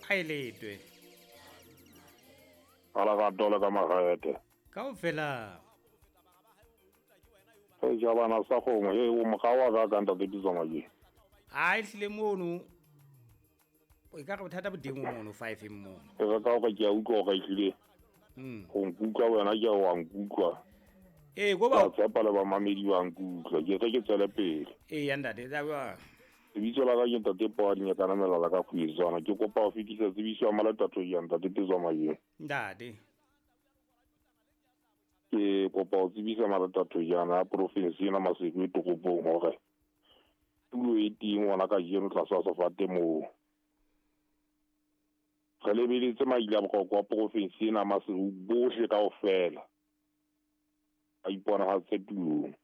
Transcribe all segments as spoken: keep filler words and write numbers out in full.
Phaeletwe. Ala ka dole ka magaete. Kaofela. E jabana sa gongwe e o mogawa ka ka ntate Pitso Majweng. A e tlile mono. O ka re bothata bo teng mono five mono. E re ka gore ke a utlwa gore e tlile. Mm. Go nkutlwa wena ke a wa nkutlwa. Ee, go ba Ke a tshepa le bamamedi ba nkutlwa. Ke re ke tswele pele. Ee, ya ntate, tsa bua. Lebitso la ka ke ntate Poa Dinyakana Melala ka Kgwezwana. Ke kopa ho fetisa tsebiso ya Malatato ya ntate Pitso Majweng. Ntate. Ke kopa ho tsebisa Malatato yana ya province ena Maseru e toropong hore tulo e teng hona kajeno tlasa sefate moo. Re lebeletse maile a bohlokwa wa province ena Maseru bohle kaofela a iponahatse tulong.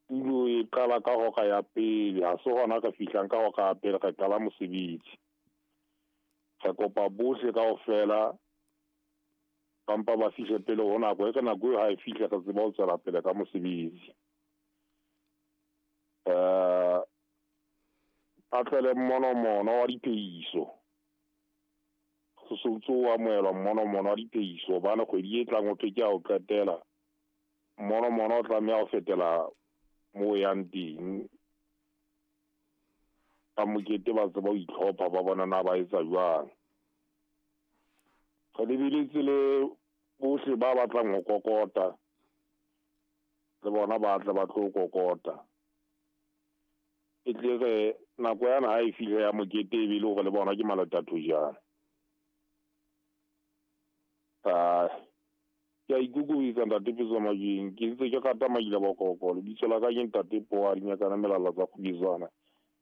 Tulo e qala ka hora ya pele, ha se hona re fihlang ka hora ya pele, re qala mosebetsi. Re kopa bohle kaofela kampa ba fihle pele ho nako, e re nako eo ha e fihle re tseba ho tswela pele ka mosebetsi. Eh, a tlele mmonomono wa diphehiso. Ho se ntso o amohelwa mmonomono wa diphehiso hobane kgwedi e tlang ho thwe ke ya ho qetela. Mmonomono o tlameha ho fetela moo o yang teng. Ba mokete ba tseba ho itlhopha ba bona na ba etsa jwang. Re lebeletse le bohle ba batlang ho kokota, le bona ba tle ba tlo kokota. E tle re nako yana ha e fihle ya mokete e be le hore le bona ke Malatato jana. Ah, ke a ikokobetsa ntate Pitso Majweng, ke ntse ke rata Maila Bokoko. Lebitso la ka ke ntate Poa Dinyakana Melala tsa Kgwezwana.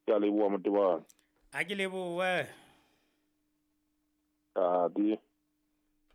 Ke a leboha Motebane. A ke lebohe. Tate.